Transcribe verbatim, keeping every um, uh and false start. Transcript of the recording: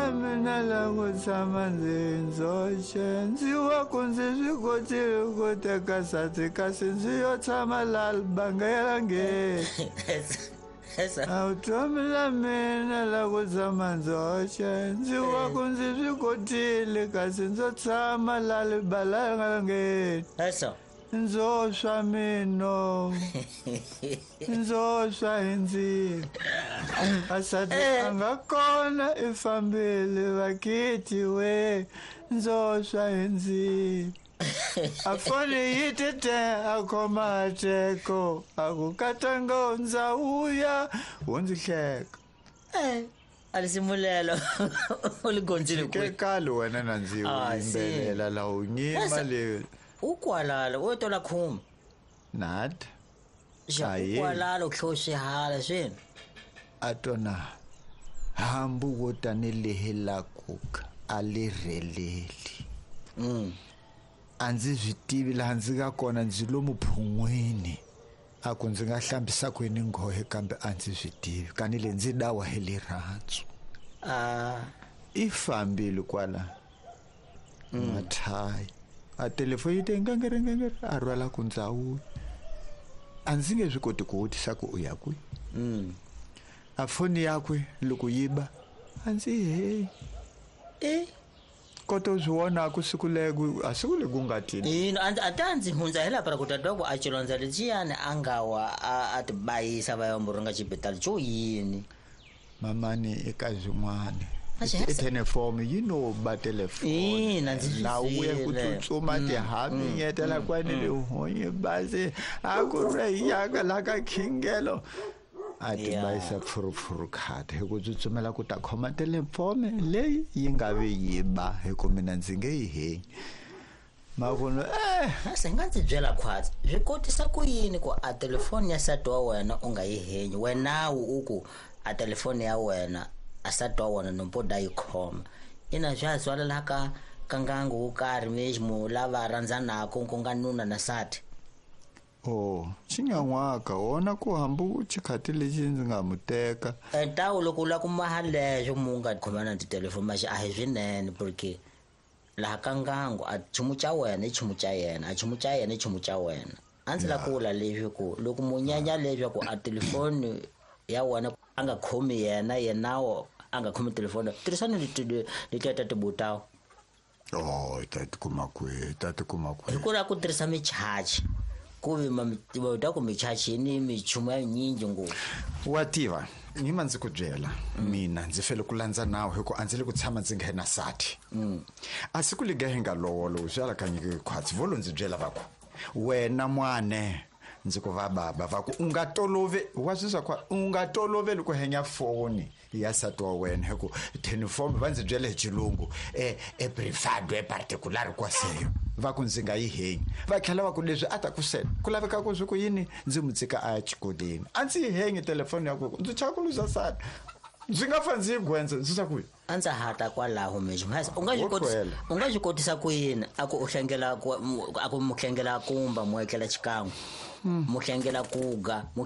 la mina la ku tshama ndzi ndzoxe ndzi wa ku ndzi swi kotile ku teka nsati kasi ndzi yo tshama la bangelangeni a vutomi la mina la ku tshama ndzoxe ndzi wa ku ndzi swi kotile kasi ndzo tshama la libalangeni ndzo swa mino ndzo swa hi ndzilo asati a nga kona i fambile vakiti we ndzo swa hi ndzilo a foni yi tete a khoma teko a ku katanga ndza vuya wo ndzi hleka a lisimulelo u li gondzile kwihi kale wena na ndzi yimbelela la u nyima le ukwalala o tola khuma nat xa ukwalala u tlho hala swini a tona hambu wo tanihi la kuka a li rheleli mm. A ndzi swi tivi laha ndzi nga kona ndzi lomu phun'wini a ku ndzi nga hlambisa kwini nghohe kambe a ndzi swi tivi kani le ndzi dawa hi lirhandzu a i fambile kwala mathayi a telefoni yi te ngengere ngengere a rhwala ku ndzawulo a ndzi nge swi koti ku vutisa ku u ya kwihi mm. a foni yakwe loko yi ba a ndzi heyi e kota u swi vonaku siku leko a siku leku nga tini ina a ta ndzi hundza hi laha ku tata ku a xilondza lexiyani a nga wa a ti bayisa va ya muringa xibedhlele xo yini mamani eka swin'wana i telefoni yi no ba telefoni ina ndzi na uye ku tsutsuma tihaminyetela kwani le honye basi a ku ri yaka la ka khingelo a ti bayisa pfurupfuru khata hi ku tsutsumela ku ta khoma telefoni leyi yi nga vi yi ba hi ku mina ndzi nge yi henyi makuno eh se nga ndzi byela khwatsi swi kotisa ku yini ku a telefoni ya nsati wa wena u nga yi henyi wenawu u ku a telefoni ya wena a nsati wa wena nompo da yi khoma ina swa ha tswalela ka ka ngangu wo karhi mexi lava rhandzanaka ku nga nuna na nsati oh xinyan'waka wona ku hambu xikhati lexi ndzi nga mu teka ntawu loko u lava ku maha lexo mu nga khomana na titelefoni maxi a hi swinene porque laha ka ngangu a nchumu xa wena i nchumu xa yena a nchumu xa yena i nchumu xa wena a ndzi lava ku vula leswi ku loko mu nyanya leswaku a telefoni ya wena a nga khomi yena yenawo a nga khomi telefoni tirhisani leti letiya ta tibutawu oh ta tikuma kwihi ta tikuma kwihi hi ku lava ku tirhisa michachi ku vi ta ku michachi ni michumu ya nyingi ngopfu wa tiva nyima ndzi ku byela mina ndzi fele ku landza nawu hi ku a ndzi le ku tshama ndzi nghena sati a siku liga hi nga lowolo swi alakanyiki khwatsi vo lo ndzi byela va ku wena mwane ndzi ku va baba va ku u nga tolove wa swi swa u nga toloveli ku henya foni ya nsati wa wena hi ku telefoni va ndzi byele hi xilungu e e privado e particular kwaseyo va ku ndzi nga yi henyi va tlhela va ku leswi a ta ku sela ku laveka ku swi ku yini ndzi mu tshika a ya xikolweni a ndzi yi henyi telefoni ya ku ndzi chava ku luza nsati ndzi nga fa ndzi yi gwendza ndzi swa ku a ndza hata kwalaho mexi u nga swi kotisa u nga swi kotisa ku yini a ku u hlengela a ku mu hlengela kumba mu etlela xikan'we mu hlengela kuga mu